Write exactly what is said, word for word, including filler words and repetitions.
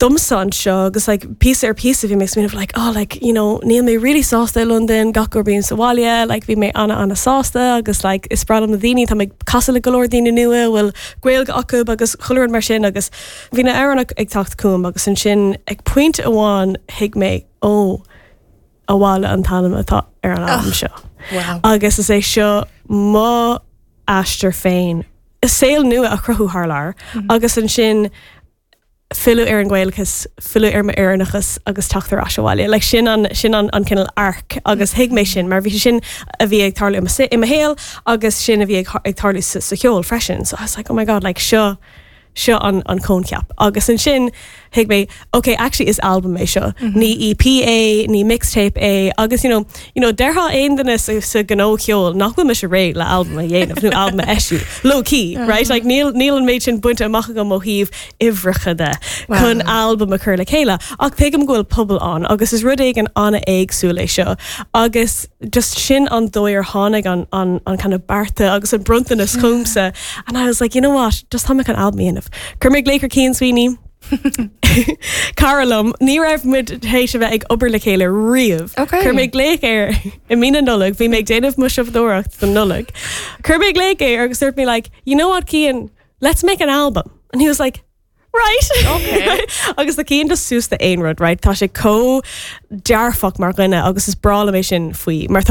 domsa anseo agus like píosa ar píosa bhí mé smaoineamh like oh like you know níl mé really sásta i London gach uair bím sa bhaile like bhí mé ana ana sásta agus like is breá liom na daoine tá mé casadh le go leor daoine nua bhfuil Gaeilge acu agus chuile rud mar sin agus bhí na hamhráin ag teacht chugam agus ansin ag pointe amháin thuig mé ó Abhaile an t-ainm atá ar an albam seo. Wow. Agus is é seo mo aistear féin. Is saol nua a chruthú thar lear agus ansin filleadh ar an nGaelachas, filleadh ar m'Éireannachas agus teacht ar ais abhaile. Like sin an sin an an cineál arc agus thuig mé sin mar bhí sé sin a bhí ag tarlú i mo i mo shaol agus sin a bhí ag ag tarlú sa, sa cheol freisin. So I was like, oh my god, like seo seo an an coincheap. Agus ansin thuig mé, okay, actually is album é seo. Ní EP é, ní mixtape é, agus you know, you know, déarfadh aon duine sa, sa gnó ceoil nach bhfuil mise réidh le album a dhéanamh nó album a eisiú. Low key, right? Like níl níl an méid sin bainte amach agam ó thaobh uimhreacha de chun album a chur le chéile. Ach tuigim go bhfuil pobal ann agus is rud éigin an-éagsúil é seo. Agus just sin an dóigh ar tháinig an, an, an kind of bearta agus an bronntanas chugamsa. And I was like, you know what, just tá mé chun album a dhéanamh. Chuir mé glaoch ar Cian Sweeney, Cara liom, ní raibh muid théis a bheith ag obair le chéile riamh. Okay. Chuir mé glaoch air i mí na Nollag, bhí mé ag déanamh mo siopadóireacht don Nollag. Chuir mé glaoch air agus dúirt mé like, you know what, Cian, let's make an album. And he was like, right. Okay. agus tá Cian just suas le aon rud, right? Tá sé chomh dearfach mar dhuine agus is breá liom é sin faoi, mar tá